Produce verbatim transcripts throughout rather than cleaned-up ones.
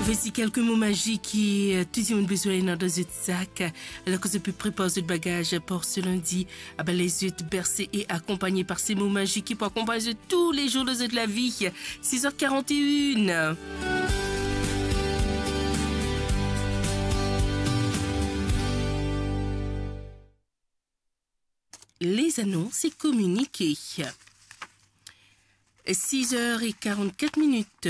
Voici quelques mots magiques ki, euh, tou dimoun bizin ena dan zot sak. Alor ke zot pe prepar zot bagaz pou se lindi, a ben les zot berse e akonpagne par ces mots magiques ki pou akonpagn zot tou le zour de zot lavi. Six heures quarante et une. Les annonces et communiqués. Six heures et quarante-quatre minutes.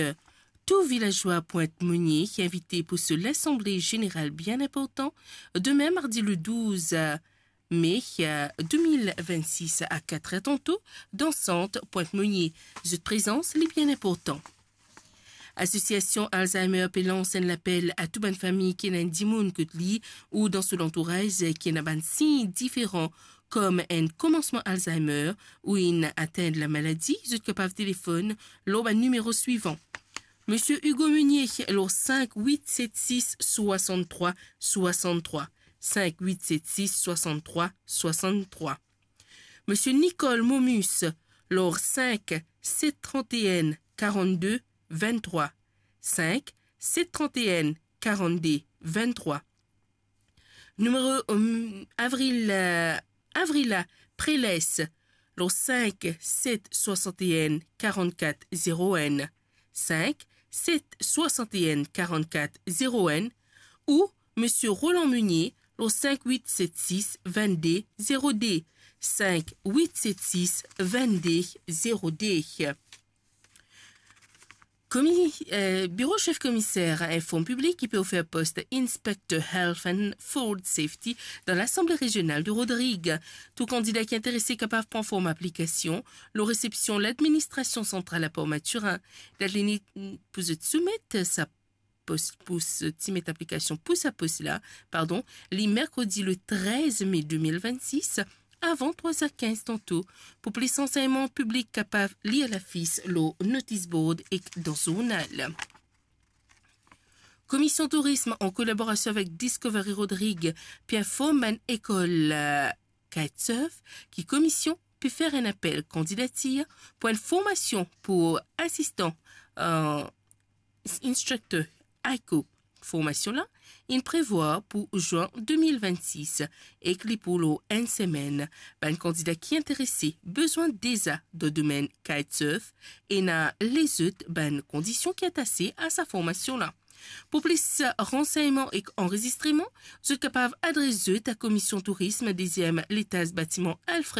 Tout vilazwa Pointe-Monier invité pou so lasanble zeneral bien inportan, demin mardi le douze mai, euh, deux mille vingt-six a quatre heures tanto, dan sant Pointe-Monier. Zot prezans li bien inportan. Asosiasion Alzheimer pe lans enn lapel a tou bann fami ki ena enn dimoun kot li ou dan so lantouraz ki ena bann sign diferan kom enn komansman Alzheimer ou inn atenn lamaladi, zot kapav telefonn lor bann nimero swivan. Misie Hugo Meunier lor cinq huit sept six soixante-trois soixante-trois, cinq huit sept six soixante-trois soixante-trois. Misie Nicole Momus lor cinq sept trente et un quarante-deux vingt-trois, cinq sept trente et un quarante-deux vingt-trois. Nimero, euh, Avril, euh, Avrila Preles, lor cinq sept soixante et un quarante-quatre zéro un, cinq sept soixante et un quarante-quatre zéro un, ou Misie Roland Meunier, lor cinq huit sept six vingt-deux zéro deux, cinq huit sept six vingt-deux zéro deux. Komi-, euh, Biro Sef Komiser inform piblik ki pe ofer post Inspector Health and Food Safety dan Lasanble Rezional de Rodrig. Tou kandida ki interese kapav pran form aplikasion lor resepsion Ladministrasion Santral a Port Mathurin. Dat limit pou zot soumet sa pos, pou so, ti met aplikasion pou sa pos la, pardon, li merkredi le trez me de mil vennsis, avan trwa er kinz tanto. Pou plis ransegnman, piblik kapav lir lafis lor notis board ek dan zournal. Komision Tourism, an kolaborasion avek Discovery Rodrig, pe inform bann lekol, euh, kitesurf ki komision pe fer enn apel kandidatir pou enn formasion pou asistan, euh, instructor AICO. Formasion la inn prevwar pou zin de mil vennsis ek li pou lor enn semenn. Bann kandida ki interese bizin deza dan domenn kitesurf, ena lezot bann kondision ki atase a sa formasion la. Pou plis ransegnman ek anrezistreman, zot kapav adres zot a Komision Tourism, deziem letaz batiman Alfred